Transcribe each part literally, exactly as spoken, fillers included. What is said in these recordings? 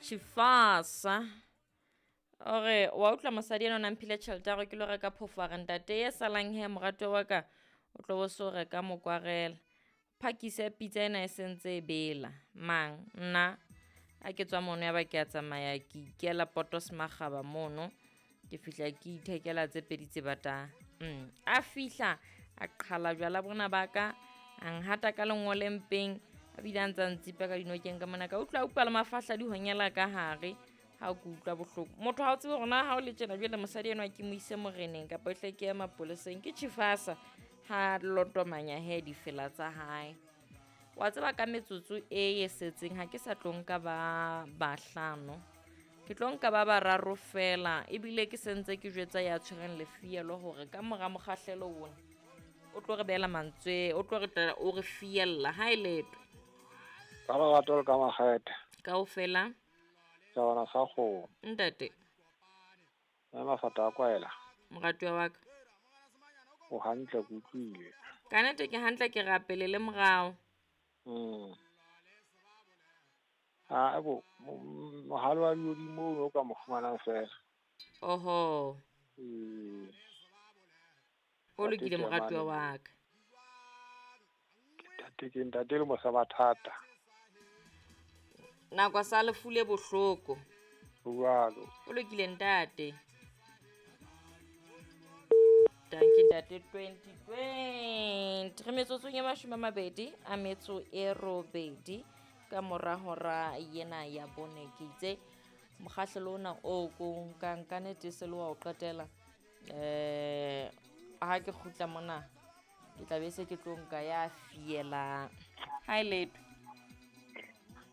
Chifasa ore wa utlwa mosadi ena o na mphile tjhelete ya hore ke lo reka phofo, a re ntate e salang he moratuwa wa ka o tlo bo so reka mokwarela. Phakise pitsa ena e sentse e bela mang nna a ke tswa mono ya ba ke a tsamaya ke ikela Potos Makgaba mono ke fihla ke ithekela tse pedi tse batang. Mm. A fihla a qhala jwala bona ba ka a nhata ka lengole mpeng a bile a ntsa ntsipa ka dinokeng ka mona ka utlwa utlwa le mafahla di honyela ka hare ha ke utlwa bohloko. Motho ha o tsebe hore na ha o le tjena jwale mosadi enwa ke mo ise moreneng kapa e hle ke ye mapoleseng ke Chifasa ha lotomanya he difela tsa hae. Wa tseba ka metsotso e e setseng ha ke sa tlo nka ba bahlano ke tlo nka ba bararo fela ebile ke sentse ke jwetsa ya tshwereng lefielo hore ka mora mokgahlelo ona o tlo re beela mantswe o tlo re tla o re fiella ha e leto ka lerato le ka makgethe kaofela tjabana sa kgomo ntate mme mafata a kwaela moratuwa wa ka o hantle ke utlwile ka nnete ke hantle ke rapele le morao. Mm. Ah ebo mohalo wa lehodimo o ka mo fumanang fela. Oho. Ee. O lokile moratuwa wa ka. Ke ntate ke ntate le mosa mathata. Nako sa lefu le bohloko. Jwalo. O lokile ntate. Danke ntate twenty twenty. Re metsotsong e mashome a mabedi a metso e robedi ka mora hora yena ya bone ke itse mokgahlelo ona o ko nkang ka nnete se le wa o qetela eh ha ke kgutla mona ke tla be se ke tlo nka ya fielang. Ha e letho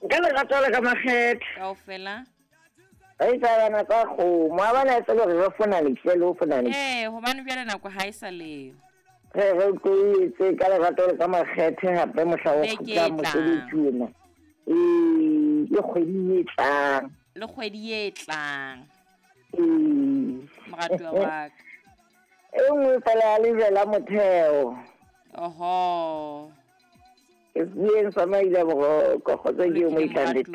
nka lerato le ka makgethe kaofela re tsabana tsa kgomo a bana e se le re fona le le fona le eh hobane jwale nako ha e sa leo re re tloetse ka lerato le ka makgethe hape mohla o kgutla mosebetsi ona ee le kgwedi e tlang le kgwedi e tlang ee moratuwa wa ka e nngwe fela ya lejwe la motheo. Oho ke bueng sa maile boroko kgotsa ke mo itlandete.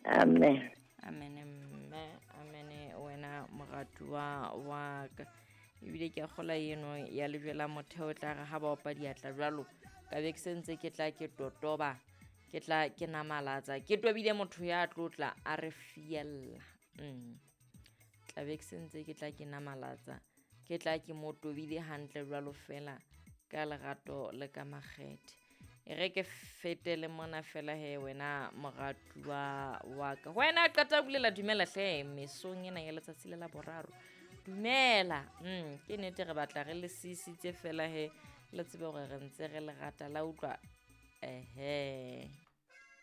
Amen. Amen mme amen wena moratuwa wa ka ebile ke a kgola eno ya lejwe la motheo tla re ha ba opa diatla jwalo ka be ke sentse ke tla ke totoba ke tla ke namalatsa ke tobile motho ya tlotla a re fiella. Mm. Tla be ke sentse ke tla ke namalatsa ke tla ke mo tobile hantle jwalo fela ka lerato le ka makgethe. E re ke fetele mona fela he wena moratuwa wa ka wena qeta bulela dumela hle mesong ena ya letsatsi le la boraro dumela. Mm ke nnete re batla re le sisitse fela he le tsebe hore re ntse re le rata la utlwa ehe.